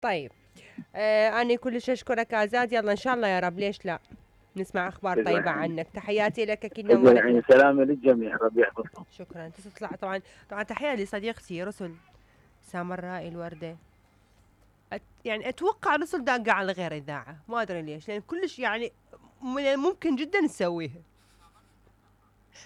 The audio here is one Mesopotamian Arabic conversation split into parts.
طيب أنا كلش أشكرك عزاد، يلا إن شاء الله يا رب، ليش لا نسمع أخبار طيبة عنك. تحياتي لك أكيد نورتنا. سلامة للجميع، ربي يحفظكم. شكرا. تطلع طبعا تحية لصديقتي رسل سامراء الوردة. يعني أتوقع رسل داقة على غير إذاعة، ما أدري ليش، لأن كلش يعني من الممكن جدا نسويها.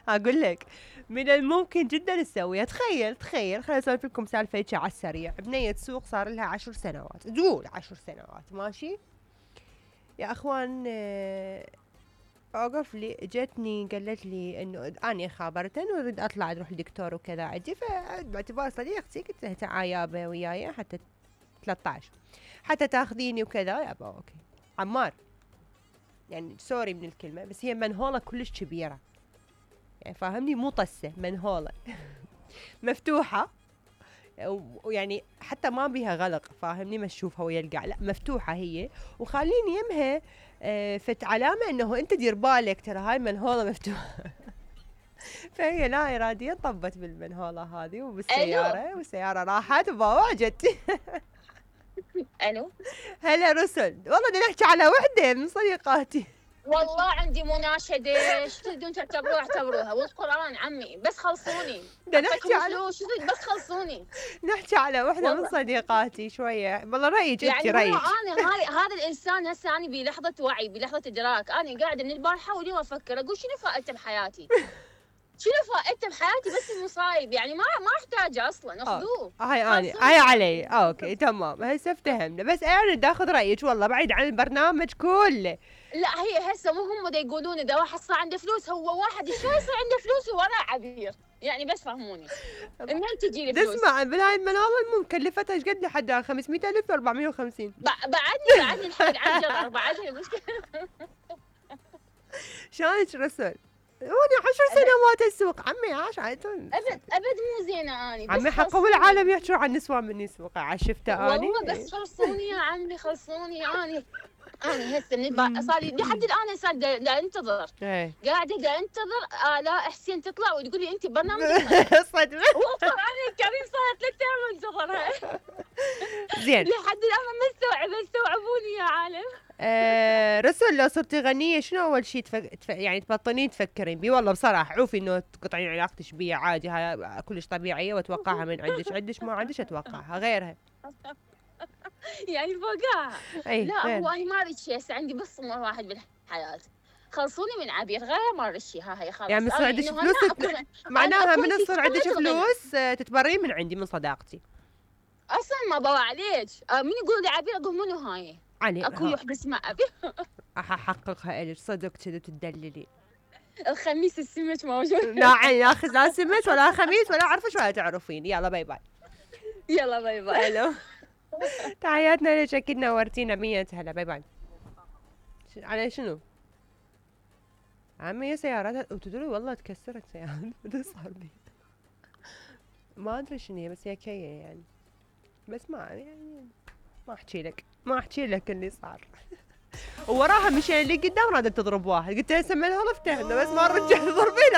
أقول لك من الممكن جدا نسويها. تخيل خليني أسولف لكم سالفة على السريع. بنية سوق صار لها 10 سنوات، تقول 10 سنوات ماشي يا أخوان. أوقف لي جتني قالت لي إنه أنا خابرتن وأريد أطلع أروح لدكتور وكذا عندي، فباعتبار صديقتي قلت لها تعال يابا وياي حتى 13 حتى تاخذيني وكذا. يابا أوكي عمار، يعني سوري من الكلمة، بس هي منهولة كلش كبيرة، يعني فاهمني، مو طسة، منهولة مفتوحة، ويعني حتى ما بيها غلق، فاهمني، ما تشوفها ويا القاع، لا مفتوحة هي، وخليني يمها فت علامة انه انت دير بالك ترى هاي منهولة مفتوحة. فهي لا اراديا طبت بالمنهولة هذه وبالسيارة، والسيارة راحت وباوعجت. الو هلا رسل، والله بدنا نحكي على وحدة من صديقاتي. والله عندي مناشدة، ايش تريدون تعتبروها اعتبروها، والقرآن عمي بس خلصوني. بدنا نحكي على بس خلصوني. نحكي على وحدة من صديقاتي شوية، والله رأيك يعني رأيك. انا هذا الانسان هسه انا بلحظة وعي، بلحظة ادراك، انا قاعدة من البارحة واليوم افكر اقول شنو فائدته بحياتي؟ شنو فائدته بحياتي؟ بس المصايب يعني ما احتاجه اصلا، اخذوه. هاي علي اوكي تمام، هسه افتهمنا، بس انا بدي اخذ رايك والله بعيد عن البرنامج كله. لا هي هسه مو هم دا يقولون اذا واحد صار عنده فلوس، هو واحد شو يصير عنده فلوس وراه عبير، يعني بس فهموني منين تجي لي فلوس؟ اسمع بالهاي المناظر مكلفتها ايش قد لحد 500,000 450. بعدني الحق عن جرر بعدني المشكله. شلونك رسل؟ هوني 10 سنوات السوق عمي، عاش ابد مو زينه اني عمي، حقوا العالم يحجوا عن نسوان مني سوق، عشفته اني والله. بس خلصوني يا عمي خلصوني. أنا هسه من صار لي لحد الآن صار دا انتظر، قاعدة دا انتظر آلاء حسين تطلع وتقول لي أنت برنامج صدمة. والقرآن الكريم صارت 3 أيام انتظرها. زين لحد الآن ما استوعبوني يا عالم. رسل لو صرتي غنية شنو أول شيء يعني تبطلين تفكرين بيه؟ والله بصراحة عوفي إنه تقطعين علاقتك بيه عادي، هاي كلش طبيعية وأتوقعها من عندك ما عندك أتوقعها غيرها. يعني فوقها. لا هو أنا ما أريد شيء، هسه عندي بس طموح واحد بالحياة، خلصوني من عبير، غير ما أريد شيء. هاي خلاص يعني من صار عندك فلوس معناها من صار عندك فلوس تتبرين من عندي من صداقتي أصلا. ما بوع عليك من يقول لي عبير أقول منو هاي؟ يعني أكو وحدة اسمها عبير. أحققها إلك صدق كذا تدللي. الخميس السمك موجود. لا أخذ لا سمك ولا خميس ولا أعرفش ولا تعرفين. يلا باي باي. يلا باي باي. هلو تحياتنا لك، أكيد نورتينا 100 هلا. باي باي. على شنو؟ عمي سيارات وتدري والله تكسرت سيارات. بدي صار بي ما أدري شنو هي، بس هي كية يعني، بس ما يعني ما أحكي لك اللي صار. ووراها مشي اللي قدام رادت تضرب واحد، قلت لها سمي لها رفتها بس ما رجعت تضربينها.